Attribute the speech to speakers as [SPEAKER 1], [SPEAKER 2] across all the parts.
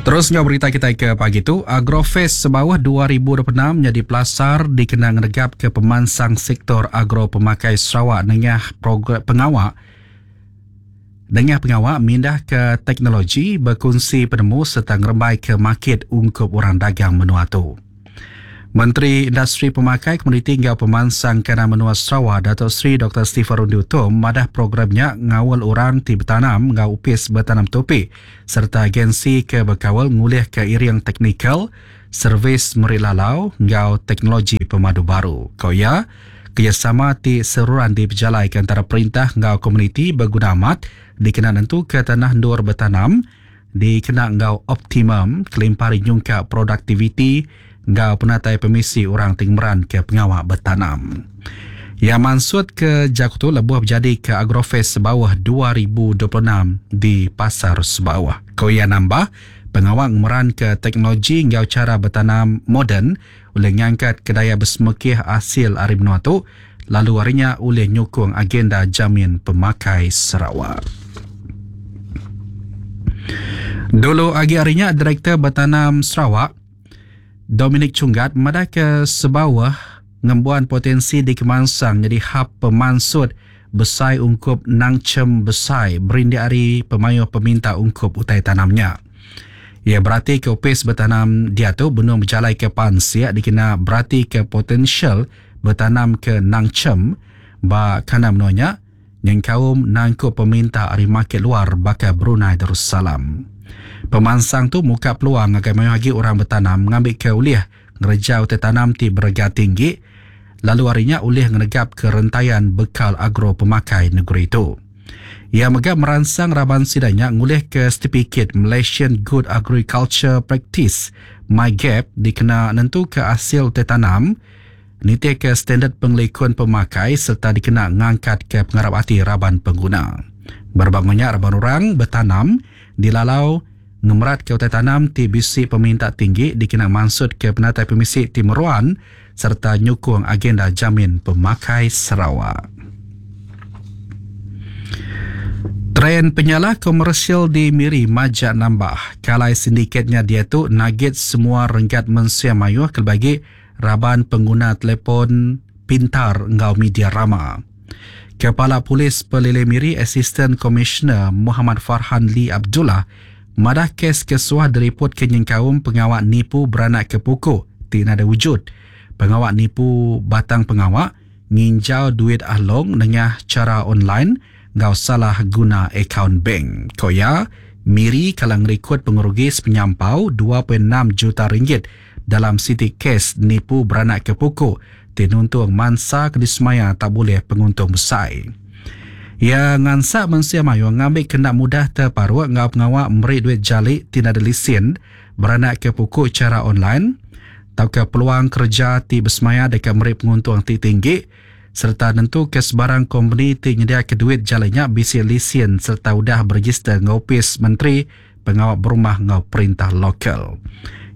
[SPEAKER 1] Terus enggau berita kitai ke pagi tu, Agrofest Sebauh 2026 nyadi pelasar dikena ngenegapka pemansang sektor agro pemakai Sarawak nengah program pengawa nengah pengawa mindahka teknologi, bekunsi penemu sereta ngerembaika makit ungkup orang dagang menua tu. Menteri Industri Pemakai, Komoditi enggau Pemansang Kandang Menua Sarawak Dato Sri Doktor Stephen Rundi Utom madah program nya ngaul orang ti betanam enggau Opis Betanam Tupi sereta agensi ke bekaul ngulihka iring teknikal, servis meri lalau enggau teknologi pemadu baru. Ku iya, kerejasama ti seruran dipejalaika entara perintah enggau komuniti beguna amat dikena nentuka tanah endur betanam dikena enggau optimum kelimpah ari nyungkak produktiviti enggau penatai pemisi orang ti ngemeranka pengawa betanam. Iya mansutka jaku tu lebuh bejadika Agrofest Sebauh 2026 di Pasar Sebauh. Ku iya nambah, pengawa ngemeranka teknologi enggau chara betanam moden ulih ngangkatka daya besemekih asil ari menua tu lalu ari nya ulih nyukung agenda jamin pemakai Sarawak. Dulu agi ari nya, Direktor Betanam Sarawak, Dominic Chunggat madahka Sebauh ngembuan potensi dikemansang nyadi hab pemansut besai ungkup nangchem besai berindik ari pemayuh peminta ungkup utai tanam nya. Iya beratika Opis Betanam diatu benung bejalaika pansik dikena beratika potensial betanam ke nangchem ba kandang menua nya nyengkaum nangkup peminta ari makit luar baka Brunei Darussalam. Pemansang tu muka peluang ngagai mayuh agi orang betanam ngambika ulih ngereja utai tanam ti berega tinggi lalu ari nya ulih ngenegapka rentayan bekal agro pemakai negeri tu. Iya mega meransang raban sida nya ngulihka setipikit Malaysian Good Agriculture Practice, MyGAP, dikena nentuka asil utai tanam nitihka standard pengelikun pemakai sereta dikena ngangkatka pengarap ati raban pengguna. Berebak enggau nya raban orang betanam dilalau ngemeratka utai tanam ti bisi peminta tinggi dikena mansutka penatai pemisi ti meruan sereta nyukung agenda jamin pemakai Sarawak. Trend penyalah komersial di Miri majak nambah. Kalai sindiket nya diatu nagit semua renggat mensia mayuh kelebih agi raban pengguna telefon pintar enggau media rama. Kepala Polis Pelilih Miri Asisten Komisioner Muhammad Farhan Lee Abdullah madah kes ke suah diripotka nyengkaum pengawa nipu beranakka puku ti nadai wujud, pengawa nipu batang pengawa, nginjau duit Ah Long nengah chara online enggau salah guna akaun bank. Ku iya, Miri kala ngerikod pengerugi sepenyampau 2.6 juta ringgit dalam siti kes nipu beranakka puku ti nuntung mansa ke disemaya tau bulih penguntung besai. Iya ngansak mensia mayuh ngambika enda mudah teparuk enggau pengawa meri duit jali ti nadai lisin beranakka puku chara online tauka peluang kereja ti besemaya deka meri penguntung ti tinggi sereta nentuka sebarang kompeni ti nyediaka duit jali nya bisi lisin sereta udah berejister enggau Opis Menteri Pengawa Berumah enggau Perintah Lokal.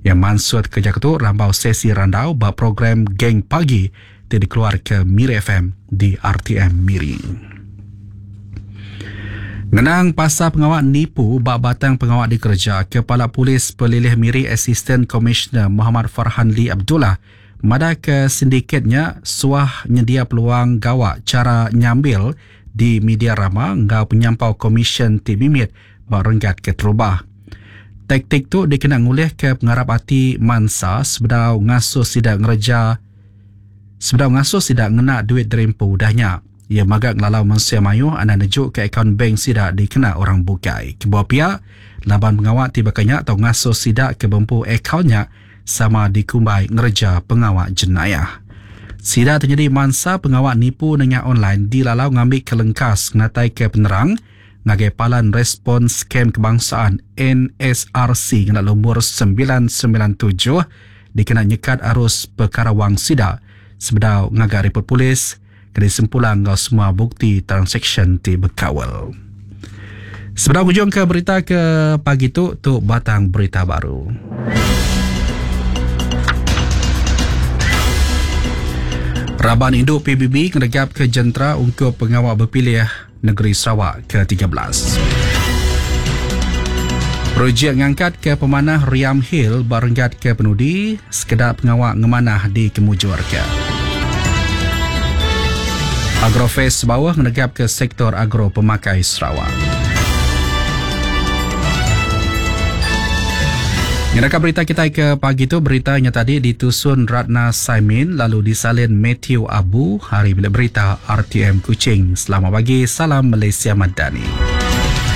[SPEAKER 1] Iya mansutka jaku tu rambau sesi randau ba program Geng Pagi ti dikeluarka Miri FM di RTM Miri. Ngenang pasal pengawa nipu ba batang pengawa dikereja, Kepala Polis Pelilih Miri Asisten Komisioner Muhammad Farhan Lee Abdullah madahka sindiket nya suah nyendia peluang gawa chara nyambil di media rama enggau penyampau komisyen ti mimit ba renggat keterubah. Taktik tu dikena ngulihka pengarap ati mansa sebedau ngasuh sida ngereja Sebedau ngasuh sida ngena duit diri empu udah nya, iya mega ngelalau mensia mayuh anang nejuka akaun bank sida dikena orang bukai. Kebuah pia, laban pengawa ti baka nya tau ngasuh sida ke bempu akaun nya sama dikumbai ngereja pengawa jenayah. Sida ti nyadi mansa pengawa nipu nengah online dilalau ngambika lengkas ngenataika penerang ngagai Palan Respons Scam Kebangsaan, NSRC, ngena lumur 997 dikena nyekat arus pekara wang sida sebedau ngaga ripot polis ke disempulang enggau semua bukti transaksyen ti bekaul. Sebedau ngujungka berita ke pagi tu, tu batang berita baru. Raban indu PBB ngenegapka jentera ungkup pengawa bepilih Negeri Sarawak ke 13. Projek ngangkatka pemanah Riam Hill ba renggat ke penudi, sekeda pengawa ngemanah dikemujurka. Agrofest Sebauh ngenegapka sektor agro pemakai Sarawak. Ngenaka berita kitai ke pagi tu, berita nya tadi ditusun Ratna Saimin lalu disalin Matthew Abu ari Bilik Berita RTM Kuching. Selamat pagi, salam Malaysia Madani.